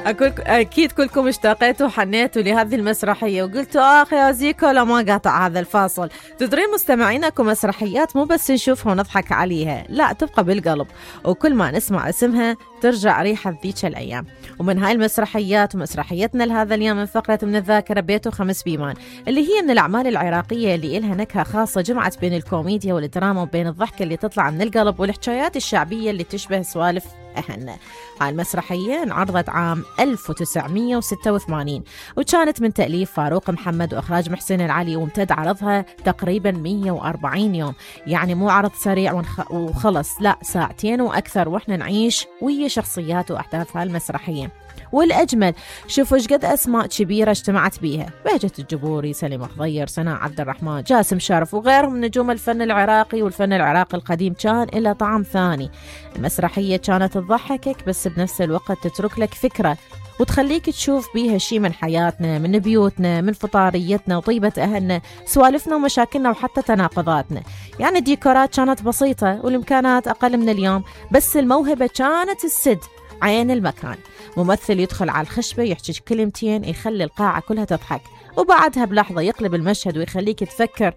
أكيد كلكم اشتاقيتوا وحنيتوا لهذه المسرحية وقلتوا آخ يا زيكو لا ما قاطع هذا الفاصل. تدرين مستمعين أكو مسرحيات مو بس نشوفها ونضحك عليها، لا تبقى بالقلب، وكل ما نسمع اسمها ترجع ريحة ذيك الأيام. ومن هاي المسرحيات ومسرحيتنا لهذا اليوم من فقرة من الذاكرة بيت وخمس بيبان، اللي هي من الأعمال العراقية اللي إلها نكهة خاصة، جمعت بين الكوميديا والدراما وبين الضحكة اللي تطلع من القلب والحكايات الشعبية اللي تشبه سوالف أهلنا. هاي المسرحية انعرضت عام 1986 وكانت من تأليف فاروق محمد وإخراج محسن العلي، وامتد عرضها تقريبا 140 يوم، يعني مو عرض سريع وخلص، لا ساعتين وأكثر وإحنا نعيش ويا شخصيات وأحداث هالمسرحية. والأجمل شوفوا ايش قد أسماء كبيرة اجتمعت بيها: بهجة الجبوري، سليم خضير، سناء عبد الرحمن، جاسم شرف وغيرهم من نجوم الفن العراقي. والفن العراقي القديم كان له طعم ثاني. المسرحية كانت تضحكك بس بنفس الوقت تترك لك فكرة وتخليك تشوف بيها شي من حياتنا، من بيوتنا، من فطاريتنا وطيبة أهلنا، سوالفنا ومشاكلنا وحتى تناقضاتنا. يعني الديكورات كانت بسيطة والإمكانات أقل من اليوم، بس الموهبة كانت السد عين المكان. ممثل يدخل على الخشبة يحكي كلمتين يخلي القاعة كلها تضحك، وبعدها بلحظة يقلب المشهد ويخليك تفكر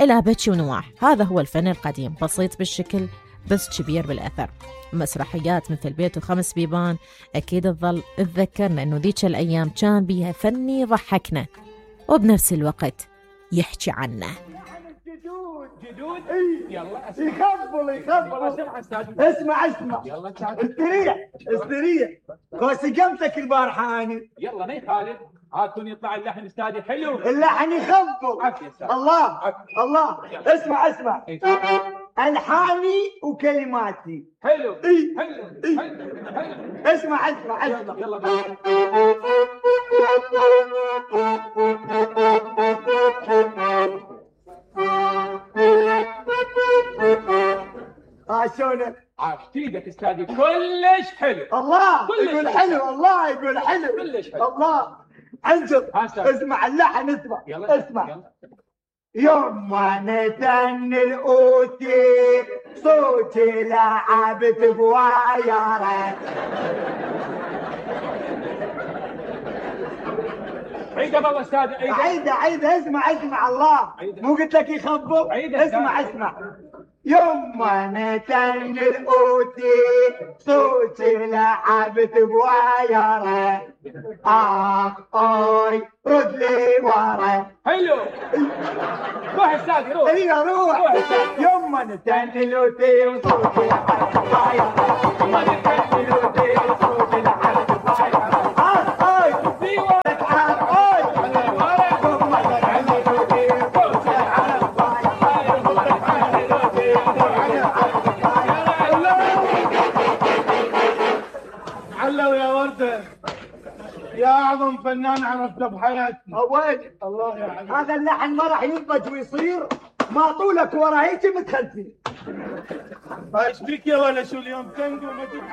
إلى بكي ونواح. هذا هو الفن القديم، بسيط بالشكل بس كبير بالأثر. مسرحيات مثل بيت وخمس بيبان أكيد تظل تذكرنا إنه ذيك الأيام كان بيها فن يضحكنا وبنفس الوقت يحكي عنه. جدود يلا يخبل اسمع يلا استريح خوسي قمتك البارحة أنا. يلا ما يخالف، عادتون يطلع اللحن استادي حلو، اللحن يخبل. الله اسمع ألحاني وكلماتي حلو اسمع يلا شلونك؟ عفتيدك استادي كلش حلو. الله يقول حلو كلش حلو. الله انجر. اسمع اللحن اسمع يوم ما نتن الأوتي صوتي لعبت بوايارك. عيدة بالله استاذ عيدة اسمع الله مو قلت لك يخبط. اسمع يوم ما نتن الأوتي صوتي لعبت بوايارك. أوي رد لي ورا. حلو روح استاذ روح. يوم ما نتن الأوتي وصوتي لعبت بوايارك. يوم ما نتن الأوتي وصوتي لعبت بوايارك. علو يا وردة يا أعظم فنان عرفته بحياتي. وين الله يعلم هذا اللحن ما راح ينضج ويصير ما طولك ورا هيك متخلفين. ايش بيك يا ولا شو اليوم تنقل